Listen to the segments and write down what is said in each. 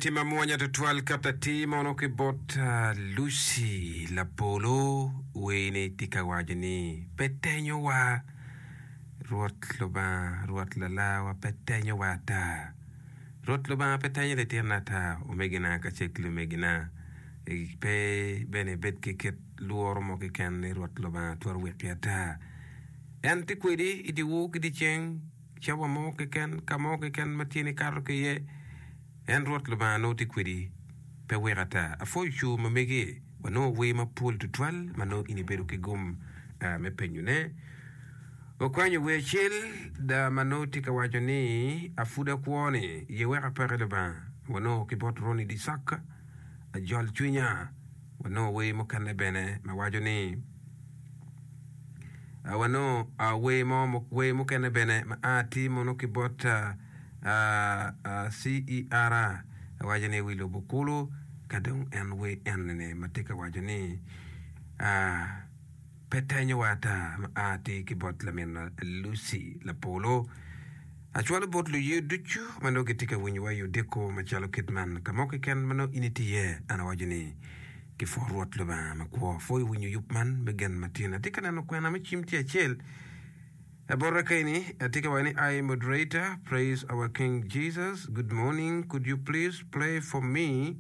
tye mamwonya tutwal kat atir mono ki bot Lucy Lapolo wer-ni tye ka waco ni pe tenyowa Rwot Lubanga Rwot Lalawa pe tenyowa ata Rwot Lubanga pe tenyo litinone ata omegina kacel ki lumegina pe bene ibed ki kit lworo mo keken ni Rwot Lubanga twero weki ata en tye kwedi i dyewor ki dyeceng. Cawa mo keken, ka mo keken ma tyeni kato ki iye, en Rwot Lubanga nongo tye kwedi, pe weko ata. Apwoyo cur ma megi, wanongo wer mapol tutwal ma nongo in ibedo ki gum me penyone. Wakwanyo wer acel da ma nongo tye ka waco ni, Apud akwo ni, ye wek apaki Lubanga. Wanongo ki bot Ronnie Disak, Ajol cwinya. Wanongo wer mukene bene ma waco ni, Wanongo wer mo wer mukene bene ma a atir mono ki bot CER waco ni wi lobo kulu ka dong en wer enini ma tye ka waco ni pe tenyowa ata ma a atir ki bot laminwa Lucy Lapolo. Acwalo bot luye ducu ma nongo gitye ka winyowa i odiko macalo kit man ka mo keken ma nongo in itye iye an awaco ni Gipwo Rwot Lubanga makwo. Pwoyo winyo yub man me gen matin. Atye ka neno kwena me cim tye acel bota keni. Atye ka waco ni I moderator praise our king Jesus good morning could you please play for me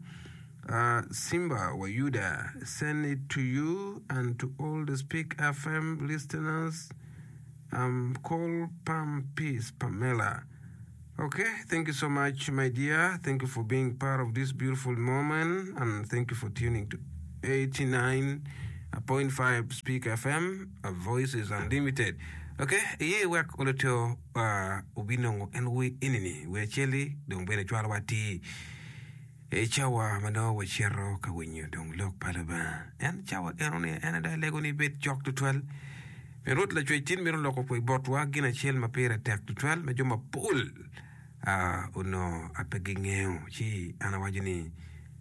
uh, Simba wa Yuda send it to you and to all the Speak FM listeners um, call Pam Peace Pamela Ok thank you so much my dear thank you for being part of this beautiful moment and thank you for tuning to 89.5 Speak FM a voice is unlimited ok iye wek oloto uh, obinongo en wer enini wer acel-li dong bene cwalowa atir I cawa ma nongo wacito ka winyo dong lok pa Lubanga, en cawa eno-ni en aye dong alego ni ibed cok tutwal. Pien Rwot Lacwec tin mito loko botwa gin acel ma pire tek tutwal ma jo mapol onongo pe gingeyo. Ci an awaco ni,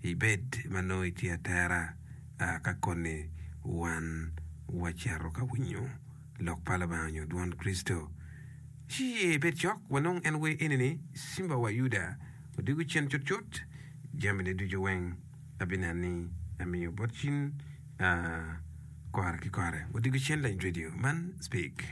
ibed ma nongo itye atera ka koni wan wacito ka winyo lok pa Lubanga nyo dwon Kricito. Ci iye ibed cok, wanong en wer eni-ni, Simba wa Yuda. Odiko cen cutcut, jamine ducu weng abineno ni amiyo bot cin kore ki kore. Odiko cen lany radio man speak.